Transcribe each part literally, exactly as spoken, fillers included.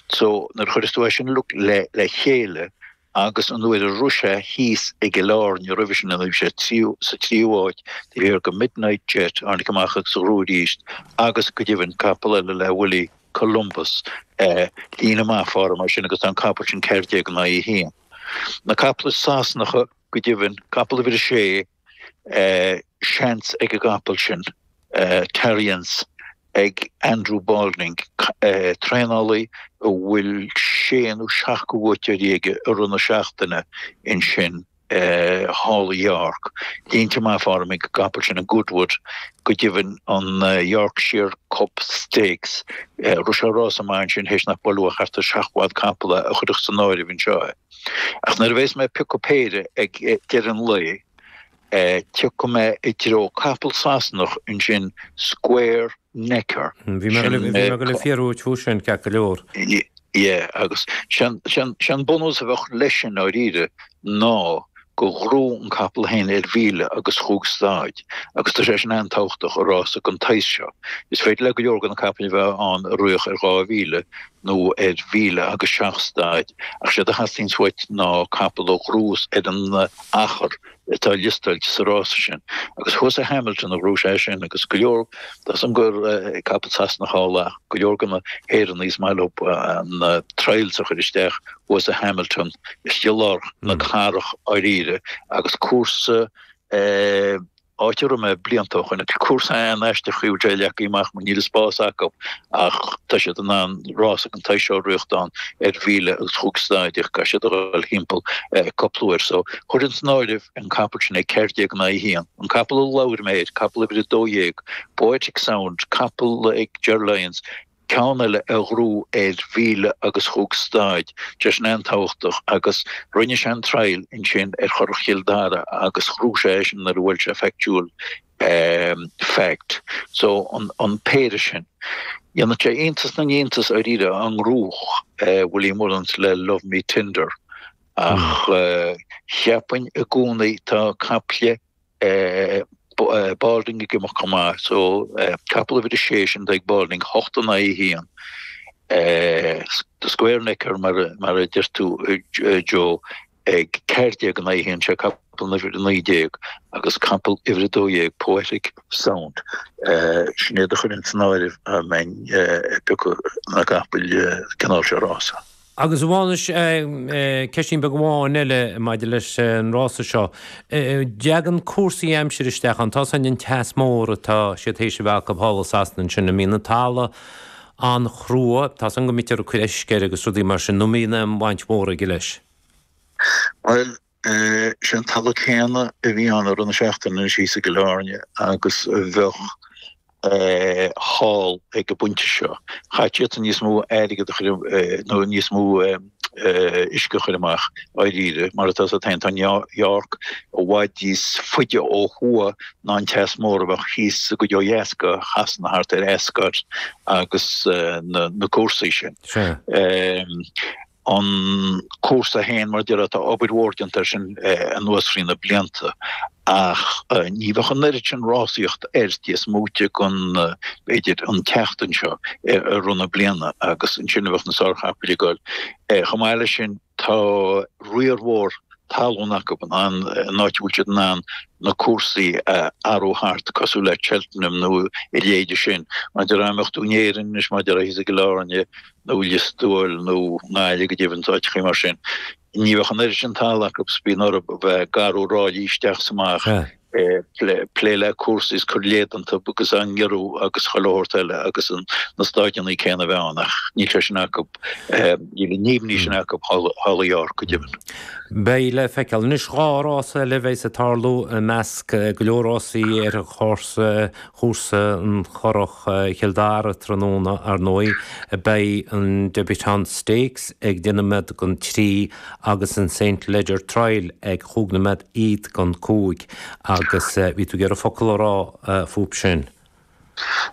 So nuair a chuireas tú é sin le le chéile agus an uair a raibh sé thíos i gCill Airne roimhe sin ina raibh sé sa tríú háit taobh thiar de Midnight Jet a tháinig amach agus a ghnóthaigh arís agus go deimhin capall eile le Willie Columbus líne maith fara mar sin agus tá an capall sin ceathair déag in aghaidh a haon. Na capaill Sasanacha go deimhin, capall uimhir a sé, seans ag an gcapall sin, Tarriance, ag Andrew Balding, traenálaí a bhfuil sé nó seacht de bhuaiteoirí aige i rith na seachtaine ansin thall i York. Línte maith fara ag an gcapall sin, an Goodwood, go deimhin an Yorkshire Cup Stakes. Rith sé rása maith ansin théis nach buaileadh ach thart ar seacht bhfad capall a chuirfeadh san áireamh anseo é. Ach nuair a bheas mé ag piocadh péire ag deireadh an lae, Tiocfaidh mé i dtreo capall Sasanach ansin Square Necker. Bhí mé ag dul ag fiafraí uait fúthu sin, ceart go leor. Yeah, agus sé an bunús a bheadh leis sin ndáiríre ná gur ghnóthaigh an capall féin ar mhíle agus chúig staid agus tá sé sin an-tábhachtach i rása den tsaghas seo. Is féidir le go leor de na capaill a bheith ann a rith ar dhá mhíle nó ar mhíle agus seacht staid ach séard a theastaíonns uait ná capall a ghnóthós ar an achar atá liostáilte sa rása sin. Agus thuas i Hamilton a ghnóthaigh sé sin agus go leor, tá 's agam gur capall Sasanach thall ach go leor de na hÉireannaigh is maith leo na trials a chur isteach thuas i Hamilton istigh i lár na cathrach dháiríre agus cúrsa áit a raibh mé blianta ó shoin, cúrsa an-aisteach a bhfuil sé leagtha amach mar níl an spás acu ach tá siad in ann rása den tsaghas seo a rith ann ar mhíle agus chúig staid ach caithfidh siad a dhul thimpeall cúpla uair. So chuirfinn san áireamh an capall sin ag ceathair déag in aghaidh a haon. An capall a labhair mé air, capall uimhir a dó dhéag, Poetic Sound, capall ag Ger Lyons, ceann eile a ghnóthaigh ar mhíle agus chúig staid, tá sin an-tábhachtach agus rinne sé an trial ansin ar Churrach Chill Dara agus ghnóthaigh sé eisean nuair a bhuail sé Factual Fact. So an péire sin. Dhéanfadh sé iontas na n-iontas dáiríre dá ngnóthódh Willie Mullins le Love Me Tender ach cheapfainn i gcónaí tá caiple Balding ag imeacht chomh maith so capall uimhir a sé sin ag Balding, hocht in aghaidh a haon. The Square Necker mar a deir tú Joe ag ceathair déag in aghaidh a haon, sé capall uimhir a naoi déag agus capall uimhir a dó dhéag Poetic Sound. Sin iad a chuirfinn san áireamh dá mbeinn ag piocadh na gcapall cineál seo rása. Agus a Mhánais, ceistín beag amháin eile maidir leis an rása seo. Dtagann cúrsaí aimsire isteach ann, tá 's againn an teas mór atá siad théis a bheith acu thall i Sasana ansin, an mbíonn an talamh an-chrua, tá 's agam go mbítear ag cur uisce air agus rudaí mar sin, nó an mbíonn aon bhaint mhór aige leis? Bhuel, sé an talamh céanna a bhí ann i rith na seachtaine anois thíos i gCill Airne agus a bheadh thall ag an bpointe seo. Chaithfeadh siadsan níos mó airgead a chur nó níos mó uisce a chur amach dháiríre. Mar atá 's agat féin, tá York i bhfad níos faide ó thuaidh ná an teas mór a bheadh thíos sa gcuid ó dheas de Shasana thart ar Ascot agus na cúrsaí sin. An cúrsa féin, mar a déarfá, tá obair mhór déanta air sin anuas thrí na blianta ach ní bheadh an oiread sin rásaíocht air cé is móite den, b'fhéidir, an tseachtain seo i rith na bliana agus ansin a bheadh na sárchapaill ag dul. Chomh maith leis sin, tá riar mhór talún acu an áit a bhfuil siad in ann na cúrsaí a athrú thart cosúil le Cheltenham nó a leithéide sin. Mar a déarfá dá mbeadh tú in Éirinn anois, mar a déarfá thíos i gCill Airne, nó Lios Tuathail nó i nGaillimh go deimhin, áiteachaí mar sin. Ní bheadh an oiread sin talaimh acu is bíonn orthu a bheith ag athrú ráillí isteach is amach, plé le cúrsaí is cur léad iontu agus á ngiorrú agus chuile shórt eile agus na staideanna céanna a bheith ann ach níl sé sin acu, níl an imní sin acu thall i York go deimhin. Beidh le feiceáil. Anois dhá rás eile a bheas ag tarlú i measc go leor rásaí ar an chúrsa, chúrsa an Churrach Chill Dara tráthnóna, ar ndóigh. Beidh an Debutante Stakes ag deich nóiméad don trí agus an Saint Leger Trial ag chúig nóiméad fhichead don cúig agus bhí tú ag iarraidh focal a rá fúthu sin.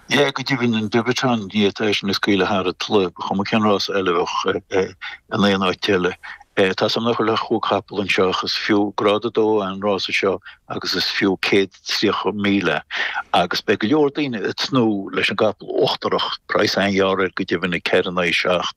Yeah, go deimhin an Debutante ní fhéadfá é sin a scaoileadh thar an tslat, ba chuma cén rása eile a bheadh in aon áit eile. Tá 's agam nach bhfuil ach chúig chapall anseo ach is fiú grád a dó an rása seo agus is fiú céad tríocha míle agus beidh go leor daoine ag tnúth leis an gcapall uachtarach, praghas an-ghearr air go deimhin ag ceithre in aghaidh a seacht.